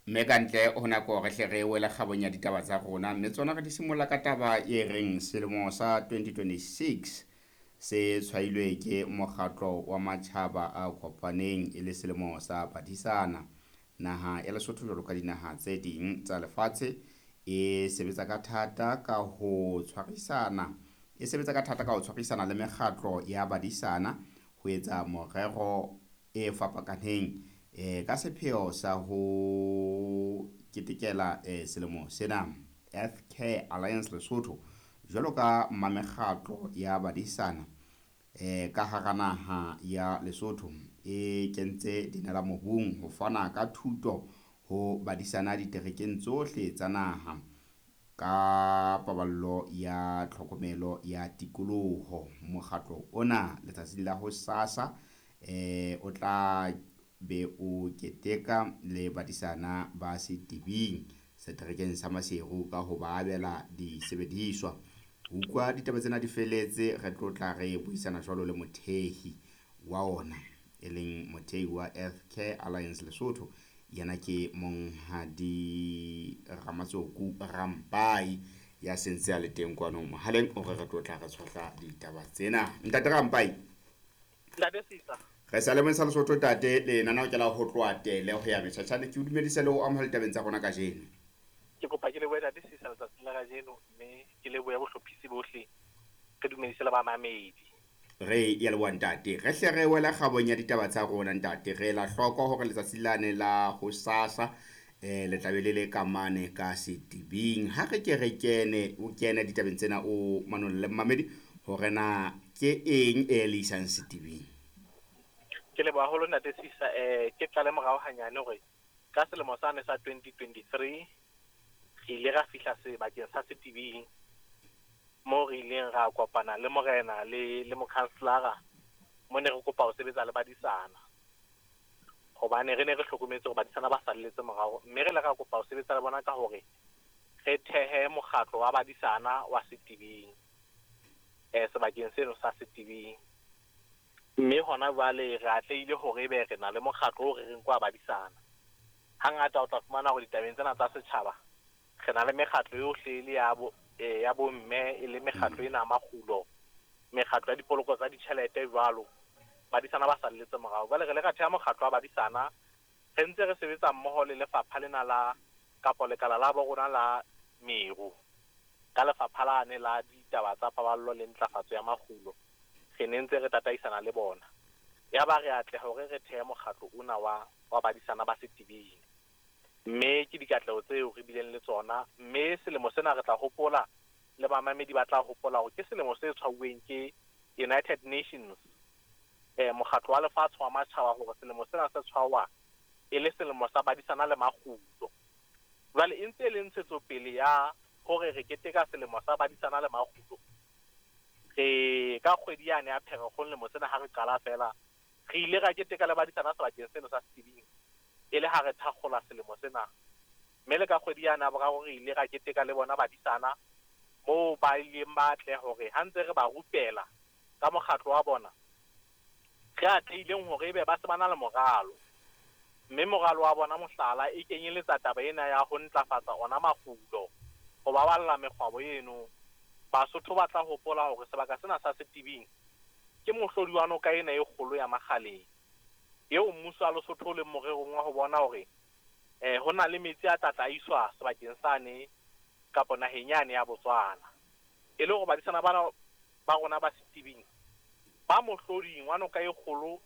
Mme ka ntle ho nako re hle re wele kgabong ya ditaba tsa rona, mme tsona re di simolla ka taba e reng selemo sa 2026 se tshwailwe ke mokgatlo wa matjhaba a kopaneng e le selemo sa badisana. Naha ya Lesotho jwalo ka dinaha tse ding tsa lefatshe e sebetsa ka thata ka ho tshwarisana e sebetsa ka thata ka ho tshwarisana le mekgatlo ya badisana ho etsa morero e fapakaneng ka sepheo sa ho ketekela selemo sena. Earth Care Alliance Lesotho jwalo ka mmamekgatlo ya badisana ka hara naha ya Lesotho e kentse dinala mobung ho fana ka thuto ho badisana diterekeng tsohle tsa naha ka paballo ya tlhokomelo ya tikoloho. Mokgatlo ona letsatsing la hosasa o tla be o keteka le badisana ba Setibing seterekeng sa Maseru ka ho ba abela disebediswa. Ho utlwa ditaba tsena di feletse, re tlo tla re buisana jwalo le mothehi wa ona, e leng mothehi wa Earth Care Alliance Lesotho. Yena ke Monghadi Ramatsoku Rampai ya sentse a le teng kwano mohaleng hore re tlo tla re tshohla ditaba tsena. Ntate Rampai. Ntate Sisa. Re sa lemong sa Lesotho tate, lenaneo ke la ho tloha tele ho ya metjhatjhane. Ke o dumedise le ho amohela ditabeng tsa rona kajeno. Ke kopa ke lebohe Ntate Sisa letsatsing la kajeno, mme ke lebohe bohlophisi bohle, re dumedise le bamamedi. Re ya leboha ntate. Re hle re wela kgabong ya ditaba tsa rona ntate. Re la hloko hore letsatsi lane la hosasa le tla be le le ka mane ka Setibing. Ha re ke re kene, o kene ditabeng tsena o manolle mmamedi hore na ke eng e le isang Setibing. Ke leboha haholo Ntate Sisa. Ke qale morao hanyane hore ka selemo sane sa 2023 re ile ra fihla sebakeng sa Setibing moo re ileng ra kopana le morena le mokhanselara, mo ne re kopa ho sebetsa le badisana, hobane re ne re hlokometse hore badisana ba salletse morao, mme re ile ra kopa ho sebetsa le bona ka hore re thehe mokgatlo wa badisana wa Setibing, sebakeng seno sa Setibing. Mme hona jwale re atlehile hore ebe re na le mokgatlo o re reng ke wa badisana. Hangata o tla fumana hore ditabeng tsena tsa setjhaba re na le mekgatlo yohle e le ya bo ya bomme, e le mekgatlo ena ya makgulo, mekgatlo ya dipoloko tsa ditjhelete jwalo. Badisana ba salletse morao. Jwale re ile ra theha mokgatlo wa badisana, re ntse re sebetsa mmoho le lefapha lena la kapo lekala la bo rona la meru, ka lefapha lane la ditaba tsa paballo le ntlafatso ya makgulo. Re ne ntse re tataisana le bona. Yaba re atleha hore re thehe mokgatlo ona wa badisana ba Setibing. Mme ke dikatleho tseo re bileng le tsona. Mme selemo sena re tla hopola, le bamamedi ba tla hopola hore ke selemo se tshwauweng ke United Nations, mokgatlo wa lefatshe wa matjhaba, hore selemo sena se tshwawa e le selemo sa badisana le makgulo. Jwale e ntse e le ntshetsopele ya hore re keteka selemo sa badisana le makgulo. Re ka kgwedi yane ya Pherekgong lemo sena ha re qala fela, re ile ra keteka le badisana sebakeng seno sa Setibing e le ha re thakgola selemo sena. Mme le ka kgwedi yane ya boraro re ile ra keteka le bona badisana moo ba ileng ba tle hore ha ntse re ba rupela ka mokgatlo wa bona, re atlehileng hore ebe ba se ba na le moralo. Mme moralo wa bona mohlala e kenyeletsa taba ena ya ho ntlafatsa ona makgulo, ho baballa mekgwabo eno. Basotho ba tla hopola hore sebaka sena sa Setibing ke mohlodi wa noka ena e kgolo ya Makgaleng, eo mmuso wa Lesotho o leng morerong wa ho bona hore ho na le metsi a tla tla iswa sebakeng sane kapo naheng yane ya Botswana. E le hore badisana bana ba rona ba Setibing ba mohloding wa noka e kgolo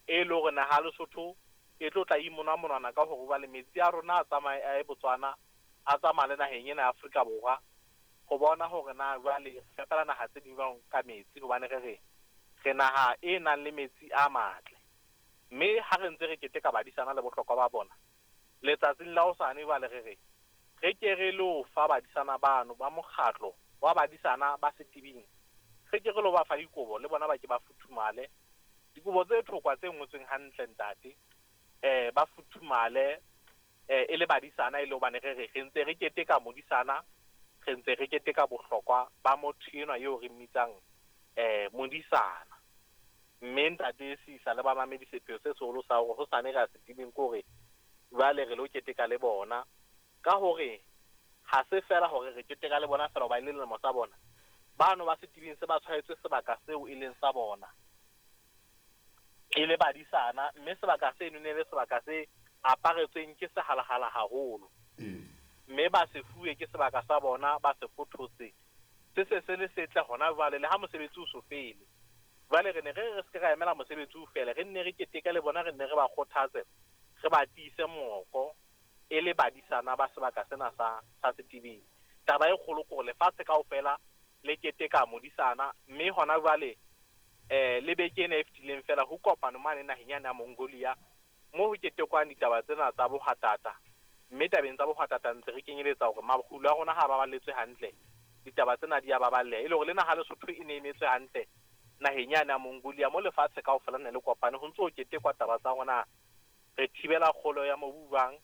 e le hore naha ya Lesotho e tlo tla imona monwana ka hore jwale metsi a rona a tsamaye a ye Botswana, a tsamaya le naheng ena ya Afrika Borwa, ho bona hore na jwale re fepela naha tse ding jwang ka metsi, hobane re re re naha e nang le metsi a matle. Mme ha re ntse re keteka badisana le bohlokwa ba bona, letsatsing la hosane jwale re re re ke re lo fa badisana bano ba mokgatlo wa badisana ba Setibing, re ke re lo ba fa dikobo le bona ba ke ba futhumale. Dikobo tse thokwa tse ngotsweng hantle ntate, ba futhumale e le badisana, e le hobane re re re ntse re keteka modisana, re ntse re keteka bohlokwa ba motho enwa eo re mmitsang modisana. Mme ntate Sisa le bamamedi, sepheo se seholo sa hore hosane re ya Setibing ke hore Jwale re lo keteka le bona ka hore ha se fela hore re keteka le bona fela hoba e le lemo sa bona. Bano ba setibeng se ba tshwaetswe sebaka seo e leng sa bona e le badisana, mme sebaka seno ne le sebaka se aparetsweng ke sehalahala haholo. Mme ba se fuwe ke sebaka sa bona, ba se fothotse. Se se se le setle hona jwale le ha mosebetsi o so fele. Jwale re ne re se ke ra emela mosebetsi o fele, re nne re keteke le bona, re nne re ba kgothatse, re ba tiise moko e le badisana ba sebaka sena sa setibeng. Taba e kgolo ke hore lefatshe kaofela le keteka modisana, mme hona jwale le beke ena e fetileng fela ho kopano mane naheng yane ya Mongolia mo ho ketekwang ditaba tsena tsa bohwatata. Mme tabeng tsa bohwatata ntse re kenyeletsa hore makgulo a rona ha baballetswe hantle, ditaba tsena di a baballeha. E le hore le naha Lesotho e ne emetswe hantle naheng yane ya Mongolia mo lefatshe kaofela ne le kopane ho ntso ho ketekwa taba tsa rona. Re thibela kgolo ya mobu jwang,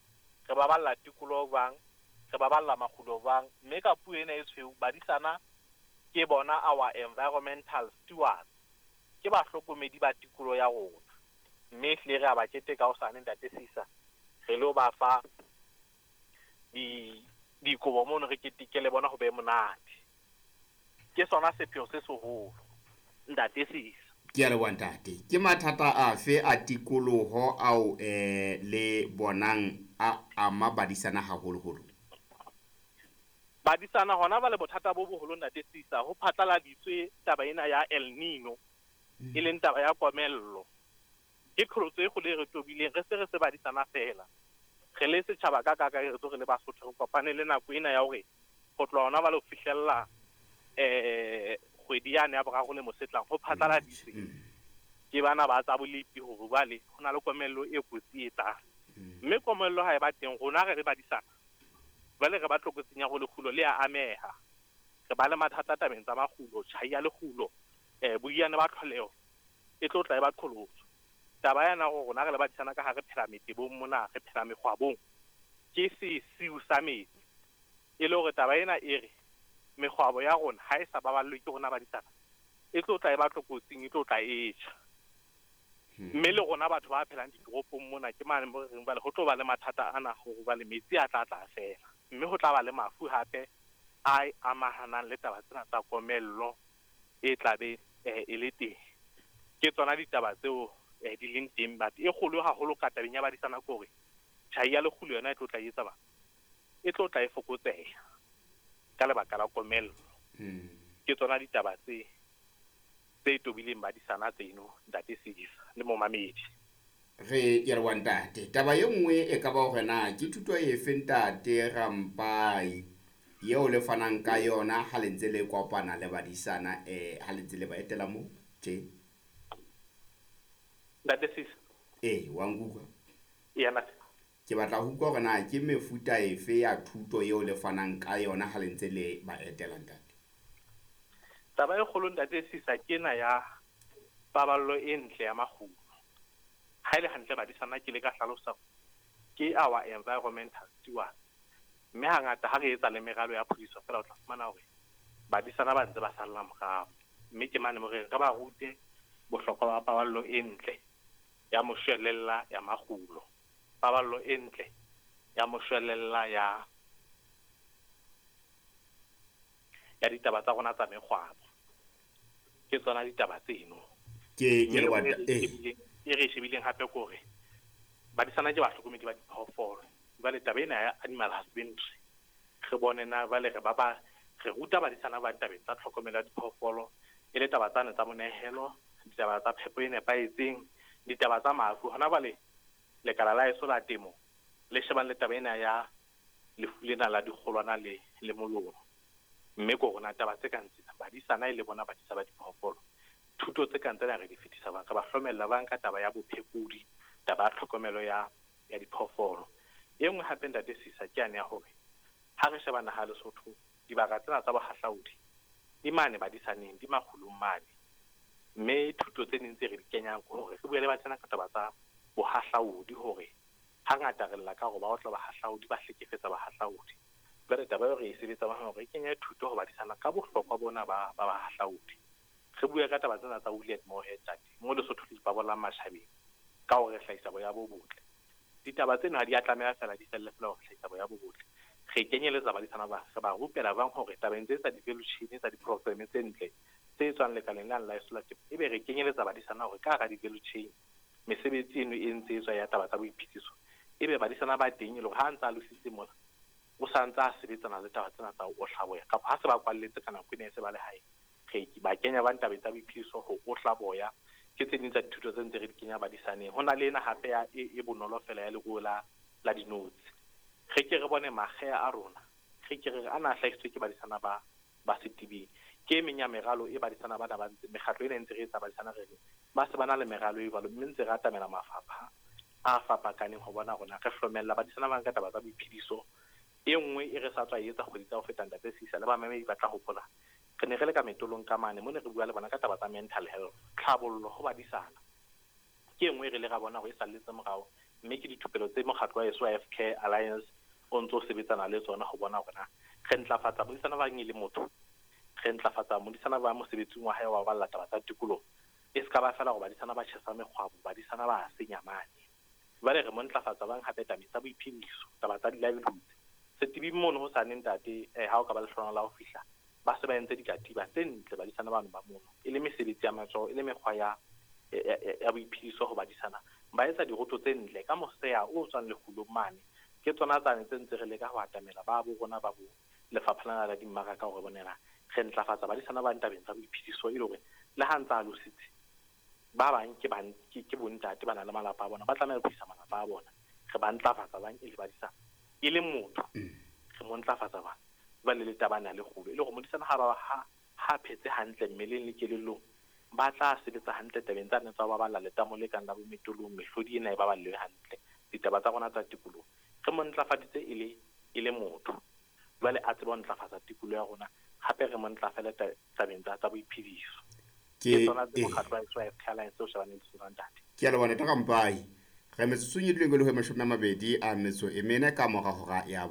re baballa tikoloho jwang, re baballa makgulo jwang. Mme ka puo ena e tshweu, badisana ke bona our environmental stewards, ke bahlokomedi ba tikoloho ya rona. Mme ehlile re a ba keteka hosane ntate Sisa, re lo ba fa dikobo mono re keteke le bona ho be monate. Ke sona sepheo se seholo ntate Sisa. Ke a leboha ntate. Ke mathata afe a tikoloho ao le bonang a ama badisana haholoholo? Badisana hona ba le bothata bo boholo ntate Sisa. Ho phatlaladitswe taba ena ya El Nino, e leng taba ya komello. Ke qholotso e kgolo e re tobileng, re se re se badisana fela. Re le setjhaba ka kakaretso, re le Basotho, re kopane le nako ena ya hore ho tloha hona ba le ho fihlella kgwedi yane ya boraro le mosetlang ho phatlaladitswe ke bana ba tsa bolepi hore jwale ho na le komello e kotsi e tlang. Mme komello ha e ba teng, rona re re badisana jwale re ba tlokotsing ya hore lekgulo le a ameha. Re ba le mathata tabeng tsa makgulo, tjhai ya lekgulo, boiyane ba tlholeho e tlo tla e ba qholotso. Taba yana hore rona re le badisana ka ha re phela metebong mona, re phela mekgwabong, ke sesiu sa metsi. E le hore taba ena e re mekgwabo ya rona ha e sa baballwe ke rona badisana, e tlo tla e ba tlokotsing, e tlo tla e tjha. Mme le rona batho ba phelang ditoropong mona ke mane mo re reng jwale ho tlo ba le mathata ana hore jwale metsi a tla tla fela. Mme ho tla ba le mafu hape a amahanang le taba tsena tsa komello e tla be e le teng. Ke tsona ditaba tseo di leng teng, but e kgolo haholo ka tabeng ya badisana ke hore tjhai ya lekgulo yona e tlo tla etsa ba, e tlo tla e fokotseha ka lebaka la komello. Ke tsona ditaba tse tobileng badisana tseno ntate Sisa le momamedi. Re ke re wa ntate. Taba e nngwe e ka ba hore na ke thuto efe ntate Rampai eo le fanang ka yona ha le ntse le kopana le badisana, ha le ntse le ba etela mo tje? Ntate Sisa. Wa nkutlwa? Eya, ntate. Ke batla ho utlwa hore na ke mefuta efe ya thuto eo le fanang ka yona ha le ntse le ba etela ntate. Taba e kgolo ntate Sisa ke ena ya paballo e ntle ya makgulo. Ha e le hantle badisana ke le ka hlalosa ke our environmental steward. Mme hangata ha re etsa le meralo ya phodiso fela o tla fumana hore badisana ba ntse ba salla morao. Mme ke mane mo re re ba rute bohlokwa ba paballo e ntle ya moshwelella ya makgulo, paballo e ntle ya moshwelella ya ditaba tsa rona tsa mekgwabo. Ke tsona ditaba tseno. Ke le wa e re shebileng hape ke hore badisana ke bahlokomedi ba diphoofolo. Jwale taba ena ya animal husbandry re bone na jwale re ba re ruta badisana ba tabeng tsa tlhokomelo ya diphoofolo, e le taba tsane tsa monehelo, ditaba tsa phepo e nepahetseng, ditaba tsa mafu. Hona jwale lekala la heso la temo le shebang le taba ena ya lefu lena la dikgolwana le molomo. Mme ko rona taba tse kang tsena badisana e le bona badisa ba diphoofolo, thuto tse kang tsena re di fetisa bang, re ba hlomella bang ka taba ya bophekodi, taba ya tlhokomelo ya diphoofolo. E nngwe hape ntate Sisa ke yane ya hore ha re sheba naha Lesotho, dibaka tsena tsa bohahlaudi di mane badisaneng, di makgulong mane. Mme thuto tse ding tse re di kenyang ke hore re bue le badisana ka taba tsa bohahlaudi, hore hangata re lla ka hore ba otla bahahlaudi, ba hlekefetsa bahahlaudi. Jwale taba eo re e sebetsa hore re kenye thuto ho badisana ka bohlokwa bona ba bahahlaudi. Re bue ka taba tsena tsa wool and mohair ntate, mo Lesotho le ipabolang matjhabeng ka hore re hlahisa boya bo botle. Ditaba tseno ha di a tlameha fela di felle fela ho hlahisa boya bo botle. Re kenyeletsa badisana ba re ba rupela bang hore tabeng tse tsa di-value chain tsa di-program tse ntle tse tswang lekaleng la la la temo, ebe re kenyeletsa badisana hore ka hara di-value chain mesebetsi eno e ntse e tswa ya taba tsa boiphediso, ebe badisana ba teng e le hore ha ntse a lositse mona o sa ntse a sebetsana le taba tsena tsa ho ohla boya, kapa ha se ba kwalletse ka nako ena e se ba le hae, re ba kenya ba tabeng tsa boiphediso ho ohla boya. Ke tse ding tsa dithuto tse ntse re di kenya badisaneng. Ho na le ena hape ya e bonolo fela ya leruo la dinotshi. Re ke re bone makgeha a rona, re ke re ana a hlahisitswe ke badisana ba Setibeng. Ke e meng ya meralo e badisana bana ba ntse mekgatlo ena e ntse re etsa badisana re ba se ba na le meralo e jwalo, mme ntse re atamela mafapha a fapakaneng ho bona rona re hlomella badisana ba nka taba tsa boiphediso. E nngwe e re sa tswa etsa kgwedi tsa ho feta ntate Sisa le bamamedi ba tla hopola, re ne re le ka metolong ka mane mo ne re bua le bona ka taba tsa mental health, tlhabollo ho badisana. Ke e nngwe re le ra bona hore e salletse morao, mme ke dithupelo tse mokgatlo wa heso wa FK Alliance o ntso sebetsana le tsona ho bona hore na re ntlafatsa modisana ba e le motho, re ntlafatsa modisana ba mosebetsing wa hae wa ho balla taba tsa tikoloho. E se ka ba fela hore badisana ba tjhesa mekgwabo, badisana ba senya mane. Jwale re mo ntlafatsa bang hape tabeng tsa boiphediso, taba tsa di-livelihoods. Setibing mono ho sane ntate, ha o ka ba lehlohonolo la ho fihla, ba se ba entse dikatiba tse ntle badisana bano ba mono, e le mesebetsi ya matsoho, e le mekgwa ya boiphediso ho badisana. Ba etsa diroto tse ntle ka moseya o tswang lekgulong mane. Ke tsona tsane tse ntse re leka ho atamela ba bo rona ba bo lefapha lena la dimmaraka hore bonela re ntlafatsa badisana ba ntabeng tsa boiphediso, e le hore le ha ntsa alositse ba bang ke bontate ba na le malapa a bona, ba tlameha ho isa malapa a bona. Re ba ntlafatsa bang e le badisana, e le motho re mo ntlafatsa bang jwale le taba ena le kgolo, e le hore modisana ha phetse hantle mmeleng le kelellong, ba tla sebetsa hantle tabeng tsa tsa ho baballa letamo le kang la bo metolong, mehlodi ena e baballe hantle, ditaba tsa rona tsa tikoloho re mo ntlafaditse e le motho, jwale a tsebe ho ntlafatsa tikoloho ya rona, hape re mo ntlafale tabeng tsa boiphediso. Ke tsona tse mokgatlo wa FK Alliance o shebaneng le tsona ntate. Ke a leboha ntate Rampai. Re metsotsong e duleng e le ho 24 ka mora hora ya